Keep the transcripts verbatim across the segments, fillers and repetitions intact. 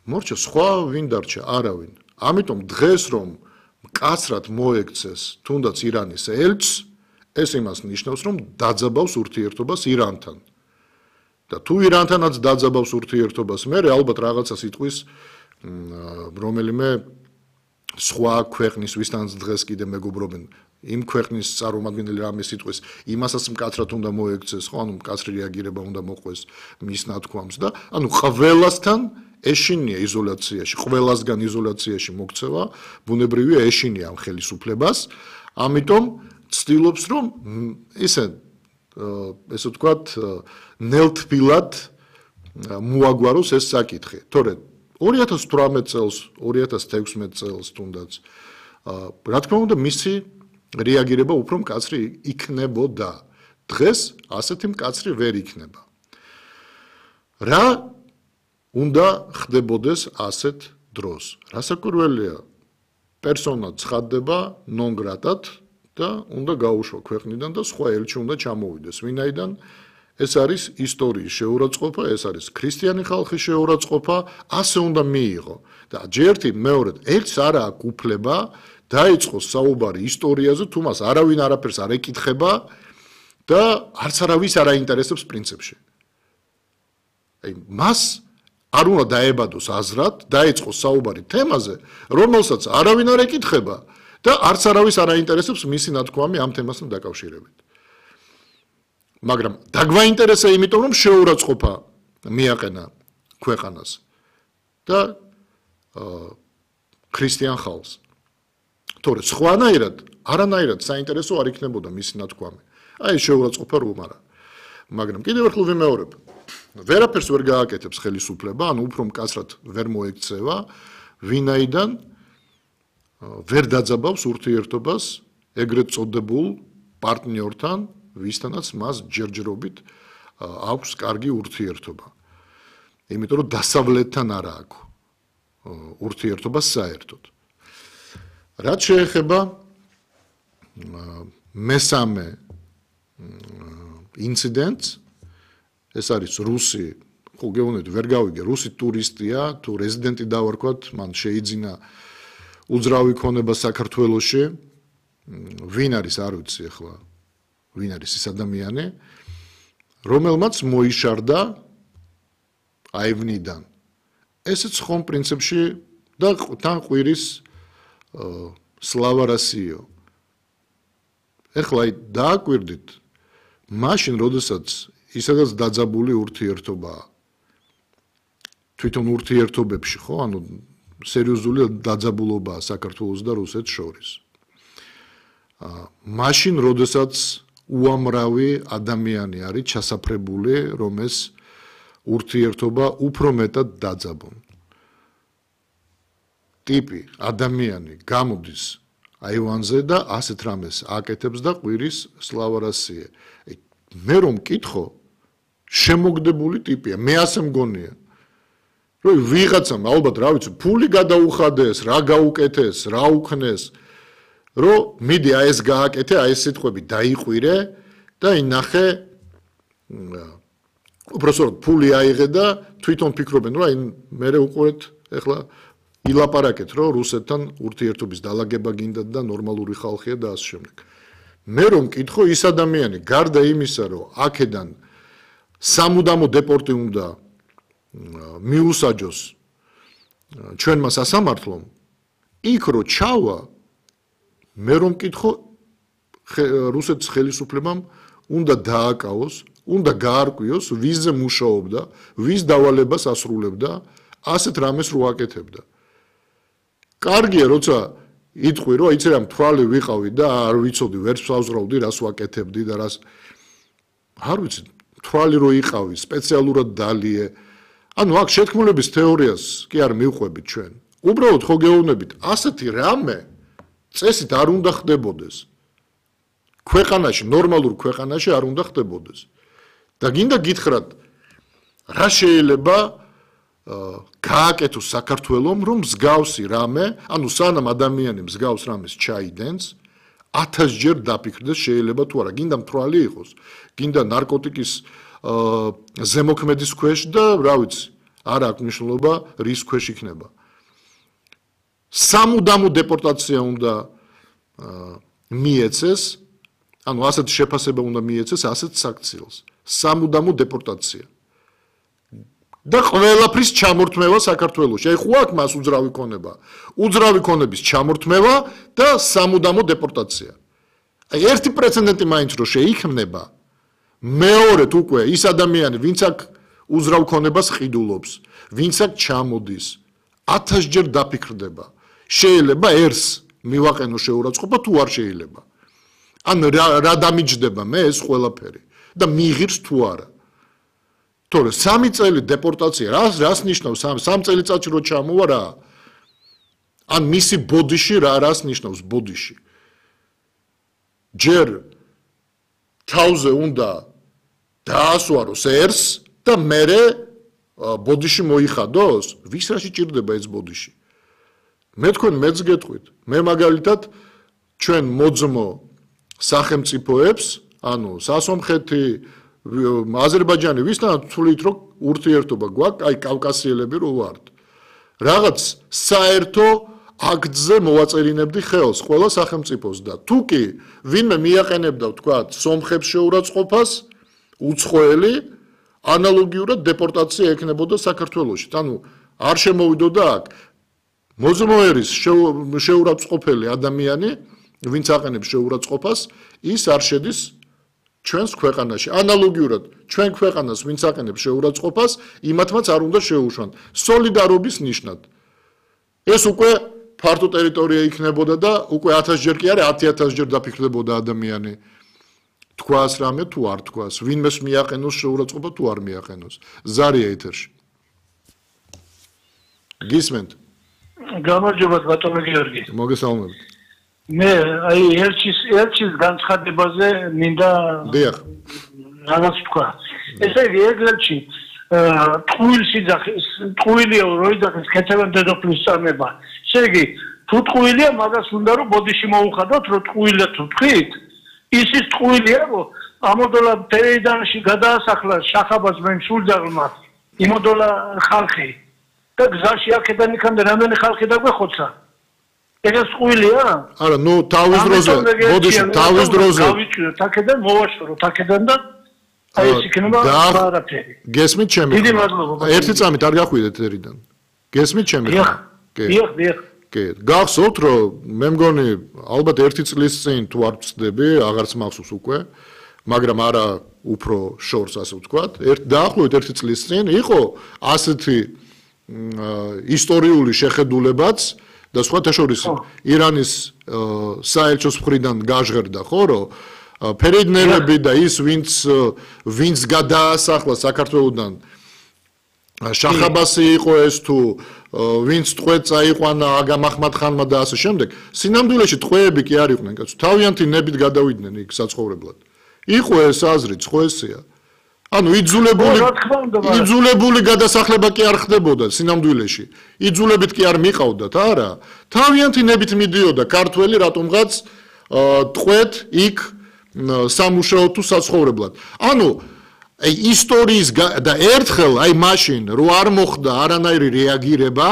მორჩა სხვა ვინ დარჩა არავინ. ამიტომ დღეს რომ მკაცრად მოექცეს თუნდაც ირანის ელჩს, ეს იმას ნიშნავს, რომ დაძაბავს ურთიერთობას ირანთან. და თუ ირანთანაც დაძაბავს ურთიერთობას, მე ალბათ რაღაცა სიტყვის რომელიმე სხვა ქვეყნის ვისთანაც დღეს კიდე მეგობრობენ იმ ქვეყნის წარმომადგენელი რამე სიტყვის იმასაც მკაცრად უნდა მოექცეს, ხო, ანუ მკაცრი რეაგირება უნდა მოყვეს მის ნათქვამს და ანუ ყველასთან ეშინია იზოლაციაში, ყველასგან იზოლაციაში მოქცევა, ბუნებრივია ეშინია ამ ხელისუფლებას, ამიტომ ცდილობს რომ ისე ესე ვთქვათ ნელთბილად მოაგვაროს ეს საკითხი. თორე ორი ათას თვრამეტ წელს, ორი ათას თექვსმეტ წელს თუნდაც რა თქმა უნდა მისი რეაგირება უფრო მკაცრი იქნებოდა. დღეს ასეთი მკაცრი ვერ იქნება. რა უნდა ხდებოდეს ასეთ დროს? რასაკვირველია, პერსონა ცხადდება non gratად და უნდა გაუშვა ქვეყნიდან და სხვა ელჩი უნდა ჩამოვიდეს. ვინაიდან ეს არის ისტორიის შეურაცხყოფა, ეს არის ქრისტიანი ხალხის შეურაცხყოფა, ასე უნდა მიიღო. და ჯერთი მეორედ ელჩს არ აქვს უფლება დაიწყოს საუბარი ისტორიაზე, თუ მას არავინ არაფერს არ ეკითხება და არც არავის არ აინტერესებს პრინციპში. აი მას არ უნდა დაებადოს აზრად, დაიწყოს საუბარი თემაზე, რომელსაც არავინ არ ეკითხება და არც არავის არ აინტერესებს მისი ნათქვამი ამ თემასთან დაკავშირებით. მაგრამ დაგვაინტერესა იმიტომ, რომ შეურაცხყოფა მიაყენა ქვეყანას და ქრისტიან ხალხს. თორე სხვანაირად, არანაირად საინტერესო არ იქნებოდა მისი ნათქვამი. აი შეურაცხყოფა რომ არა. მაგრამ კიდევ ერთხელ ვიმეორებ, ვერაფერს ვერ გააკეთებს ხელისუფლება, ანუ უფრო მკაცრად ვერ მოექცევა, ვინაიდან ვერ დაძაბავს ურთიერთობას ეგრეთ წოდებულ პარტნიორთან, ვისთანაც მას ჯერჯერობით აქვს კარგი ურთიერთობა. იმიტომ რომ დასავლეთთან არ აქვს ურთიერთობა საერთოდ. რაც შეეხება მესამე ინციდენტს, ეს არის რუსი, ხო გეუბნებით, ვერ გავიგე, რუსი ტურისტია, თუ რეზიდენტი დავარქვათ, მან შეიძინა უძრავი ქონება საქართველოში, ვინ არის არ ვიცი ახლა, ვინ არის ეს ადამიანი, რომელმაც მოიშარდა აივნიდან. ესეც ხომ პრინციპში და თან ყვირის სლავა რასიო. ეხლა აი დააკვირდით, მაშინ როდესაც ისედაც დაძაბული ურთიერთობაა. თვითონ ურთიერთობებში, ხო, ანუ სერიოზული დაძაბულობაა საქართველოს და რუსეთს შორის. მაშინ როდესაც უამრავი ადამიანი არის ჩასაფრებული, რომ ეს ურთიერთობა უფრო მეტად დაძაბონ. ტიპი ადამიანი გამოდის აივანზე და ასეთ რამეს აკეთებს და ყვირის სლავა რასიე. მე რომ მკითხო, შემოგდებული ტიპია, მე ასე მგონია. რომ ვიღაცამ ალბათ რა ვიცი, ფული გადაუხადეს, რა გაუკეთეს, რა უქნეს, რომ მიდი აი ეს გააკეთე, აი ეს სიტყვები დაიყვირე და ინახე უბრალოდ ფული აიღე და თვითონ ფიქრობენ, რომ აი მე უყურეთ ეხლა ილაპარაკეთ, რომ რუსეთთან ურთიერთობის დალაგება გინდათ და ნორმალური ხალხია და ასე შემდეგ. მე რომ მკითხო, ის ადამიანი გარდა იმისა, რომ აქედან სამუდამო დეპორტი უნდა მიუსაჯოს ჩვენმა სასამართლომ, იქ რო ჩავა, მე რომ მკითხო, რუსეთის ხელისუფლებამ უნდა დააკავოს, უნდა გაარკვიოს, ვისზე მუშაობდა, ვის დავალებას ასრულებდა, ასეთ რამეს რო აკეთებდა. კარგია, როცა იტყვი, რომ იცი რა მთვალი ვიყავი და არ ვიცოდი, ვერც ვსავზრავდი, რას ვაკეთებდი და რას არ ვიცი, მთვალი რო იყავი, სპეციალურად დალიე. ანუ აქ შეთქმულების თეორიას კი არ მივყვებით ჩვენ. უბრალოდ ხო გეუბნებით, ასეთი რამე წესით არ უნდა ხდებოდეს. ქვეყანაში, ნორმალურ ქვეყანაში არ უნდა ხდებოდეს. და გინდა გითხრათ, რა შეიძლება გააკეთოს საქართველომ, რომ მსგავსი რამე, ანუ სანამ ადამიანი მსგავს რამეს ჩაიდენს, ათასჯერ დაფიქრდეს შეიძლება თუ არა, გინდა მთვალი იყოს, გინდა ნარკოტიკის ზემოქმედის ქვეშ და რა ვიცი, არ აქვს მნიშვნელობა რის ქვეშ იქნება. სამუდამო დეპორტაცია უნდა მიეცეს, ანუ ასეთ შეფასება უნდა მიეცეს ასეთ საქციელს. სამუდამო დეპორტაცია. და ყველაფრის ჩამორთმევა საქართველოში. აი ხო აქვს მას უძრავი ქონება. უძრავი ქონების ჩამორთმევა და სამუდამო დეპორტაცია. აი ერთი პრეცედენტი მაინც რო შეიქმნება, მეორედ უკვე ის ადამიანი, ვინც აქ უძრავ ქონებას ყიდულობს, ვინც აქ ჩამოდის, ათასჯერ დაფიქრდება. შეიძლება ერს მივაყენო შეურაცხყოფა თუ არ შეიძლება. ან რა დამიჯდება მე ეს ყველაფერი და მიიღირს თუ არა. თორე სამი წელი დეპორტაცია რას რას ნიშნავს სამ წელიწადში რო ჩამოვა რა? ან მისი ბოდიში რა რას ნიშნავს ბოდიში? ჯერ თავზე უნდა დაასვაროს ერს და მერე ბოდიში მოიხადოს? ვის რაში ჭირდება ეს ბოდიში? მე თქვენ მეც გეტყვით. მე მაგალითად ჩვენ მოძმო სახელმწიფოებს, ანუ სასომხეთი, აზერბაიჯანი ვისთანაც თვლით რომ ურთიერთობა გვაქვს, აი კავკასიელები რო ვართ. რაღაც საერთო აქტზე მოვაწერინებდი ხელს ყველა სახელმწიფოს და თუ კი ვინმე მიაყენებდა ვთქვათ სომხებს შეურაცხყოფას, უცხოელი ანალოგიურად დეპორტაცია ექნებოდა საქართველოში. ანუ არ შემოვიდოდა აქ მოძმოერის შეურაცხყოფელი ადამიანი, ვინც აყენებს შეურაცხყოფას, ის არ შედის ჩვენს ქვეყანაში. ანალოგიურად ჩვენ ქვეყანას ვინც აყენებს შეურაცხყოფას, იმათმაც არ უნდა შეუშვან. სოლიდარობის ნიშნად. ეს უკვე ფართო ტერიტორია იქნებოდა და უკვე ათასჯერ კი არა, ათი ათასჯერ დაფიქრდებოდა ადამიანი. თქვას რამე თუ არ თქვას, ვინმეს მიაყენოს შეურაცხყოფა თუ არ მიაყენოს. ზარია ეთერში. გისმენთ? გამარჯობა ბატონო გიორგი. მოგესალმებით. მე აი ერჩის ერჩის განცხადებაზე მინდა დიახ. რაღაც თქვა. ესე იგი ეგლებში ტყუილში ძახის ტყუილია როიძახის ქეთევან დედოფლის წამება. ესე იგი თუ ტყუილია მაგას უნდა რომ ბოდიში მოუხადოთ რომ ტყუილია თუ თქვით ისის ტყუილია რომ ამოდოლა თეიდანში გადაასახლა შახაბას მენ სულძაღლმა იმოდოლა ხალხი და გზაში აქედან იქამდე რამდენი ხალხი დაგვეხოცა ეს ტყუილია? არა, ნუ თავის დროზე, ბოდიში თავის დროზე. გავიჭიროთ აქედან, მოვაშოროთ აქედან და აი ეს იქნება არაფერი. გესმით ჩემი? დიდი მადლობა. ერთი წამით არ გახვიდეთ ერიდან. გესმით ჩემი? დიახ. დიახ, დიახ. კი, გახსოვთ რომ მე მგონი ალბათ ერთი წლის წინ თუ არ ვწდები, აღარც მახსოვს უკვე, მაგრამ არა უფრო შორს ასე ვთქვათ, ერთ დაახლოებით ერთი წლის წინ იყო ასეთი ისტორიული შეხედულებაც და სხვათა შორის ირანის საელჩოს მხრიდან გაჟღერდა ხო რომ ფერიდნერები და ის ვინც ვინც გადაასახლა საქართველოსდან შახაბასი იყო ეს თუ ვინც ტყვე წაიყვანა აგამ აჰმად-ხანმა და ასე შემდეგ სინამდვილეში ტყვეები კი არ იყვნენ კაცო თავიანთი ნებით გადავიდნენ იქ საცხოვრებლად იყო ეს აზრიც ხო ესეა ანუ იძულებული იძულებული გადასახლება კი არ ხდებოდა სინამდვილეში იძულებით კი არ მიყავდათ არა თავიანთი ნებით მიდიოდა ქართველი რატომღაც ტყვეთ იქ სამუშაო თუ საცხოვრებლად ანუ აი ისტორიის და ერთხელ აი მაშინ რო არ მოხდა არანაირი რეაგირება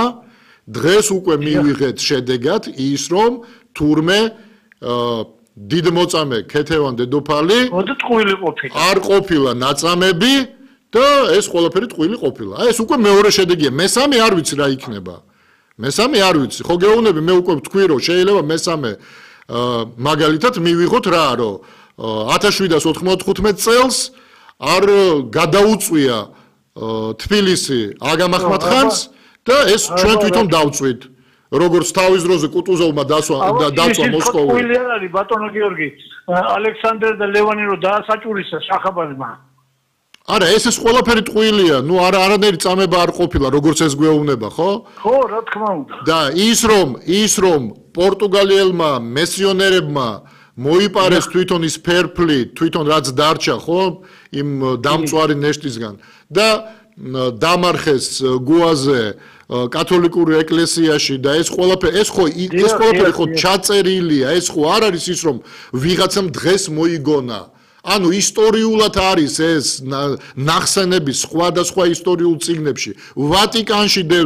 დღეს უკვე მივიღეთ შედეგად ის რომ თურმე დიდმოწამე ქეთევან დედოფალი ტყუილი ყოფილა არ ყოფილა ნაწამები და ეს ყველაფერი ტყუილი ყოფილა აი ეს უკვე მეორე შედეგია მესამე არ ვიცი რა იქნება მესამე არ ვიცი ხო გეუბნები მე უკვე ვთქვი რომ შეიძლება მესამე მაგალითად მივიღოთ რა რომ ათას შვიდას ოთხმოცდახუთმეტ წელს არ გადაუწვია თბილისი აგამ აჰმად-ხანს და ეს ჩვენ თვითონ დავწვით როგორც თავის დროზე კუტუზოვმა დაწვა დაწვა მოსკოვი. ტყუილი არ არის ბატონო გიორგი. ალექსანდრე და ლევანი რო დაასაჭურისა შახაბაზმა. არა, ეს ეს ყველაფერი ტყუილია. ნუ არა არანაირი წამება არ ყოფილა, როგორც ეს გვეუბნება, ხო? ხო, რა თქმა უნდა. და ის რომ ის რომ პორტუგალიელმა მესიონერებმა მოიპარეს თვითონ ის ფერფლი, თვითონ რაც დარჩა, ხო? იმ დამწვარი ნეშტისგან და დამარხეს გუაზე კათოლიკური ეკლესიაში და ეს ყველაფერი ეს ხო ეს ყველაფერი ხო ჩაწერილია ეს ხო არ არის ის რომ ვიღაცამ დღეს მოიგონა ანუ ისტორიულად არის ეს ნახსენები სხვადასხვა ისტორიულ წიგნებში. ვატიკანში დევს